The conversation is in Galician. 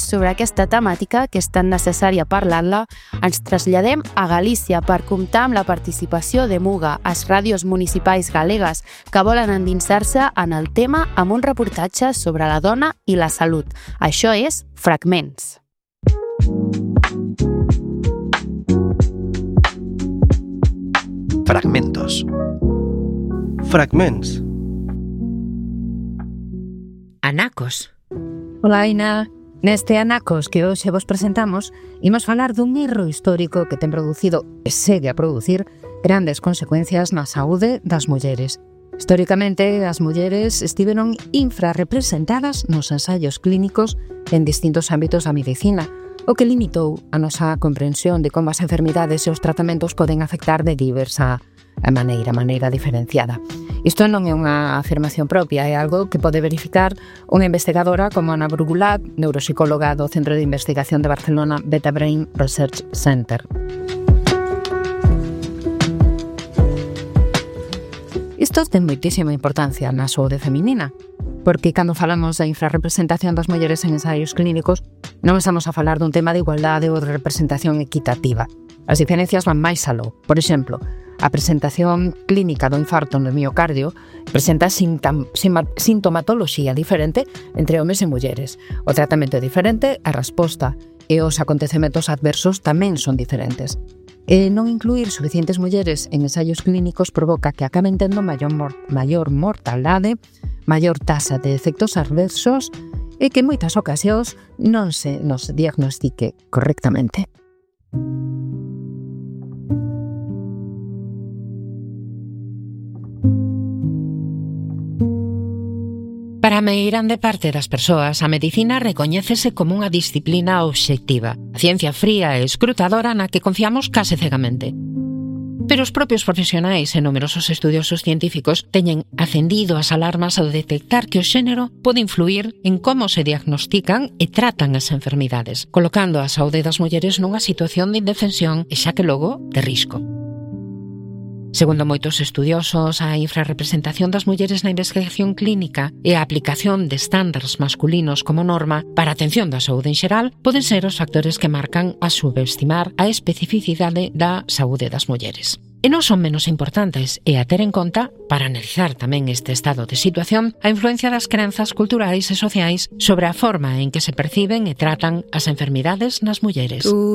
Sobre aquesta temàtica, que és tan necessària parlar-la, ens traslladem a Galícia per comptar amb la participació de Muga, les ràdios municipals galegues que volen endinsar-se en el tema amb un reportatge sobre la dona i la salut. Això és Fragments. Fragmentos. Fragments. Anacos. Ola, Aina. Neste Anacos que hoxe vos presentamos, imos falar dun erro histórico que ten producido e segue a producir grandes consecuencias na saúde das mulleres. Históricamente, as mulleres estiveron infrarrepresentadas nos ensaios clínicos en distintos ámbitos da medicina, o que limitou a nosa comprensión de como as enfermidades e os tratamentos poden afectar de diversa maneira diferenciada. Isto non é unha afirmación propia, é algo que pode verificar unha investigadora como Ana Brugulat, neuropsicóloga do Centro de Investigación de Barcelona Beta Brain Research Center. Isto ten moitísima importancia na saúde feminina, porque cando falamos da infrarrepresentación das mulleres en ensaios clínicos, non estamos a falar dun tema de igualdade ou de representación equitativa. As diferencias van máis aló. Por exemplo, a presentación clínica do infarto no miocardio presenta sintomatoloxía diferente entre homes e mulleres. O tratamento é diferente, a resposta e os acontecementos adversos tamén son diferentes. E non incluir suficientes mulleres en ensaios clínicos provoca que acaben tendo maior mortalidade, maior taxa de efectos adversos e que en moitas ocasións non se nos diagnostique correctamente. Para a meirande parte das persoas, a medicina recoñécese como unha disciplina obxectiva, a ciencia fría e escrutadora na que confiamos case cegamente. Pero os propios profesionais e numerosos estudiosos científicos teñen acendido as alarmas ao detectar que o xénero pode influir en como se diagnostican e tratan as enfermidades, colocando a saúde das mulleres nunha situación de indefensión e xa que logo de risco. Segundo moitos estudiosos, a infrarrepresentación das mulleres na investigación clínica e a aplicación de estándares masculinos como norma para a atención da saúde en xeral poden ser os factores que marcan a subestimar a especificidade da saúde das mulleres. E non son menos importantes e a ter en conta, para analizar tamén este estado de situación, a influencia das crenzas culturais e sociais sobre a forma en que se perciben e tratan as enfermidades nas mulleres.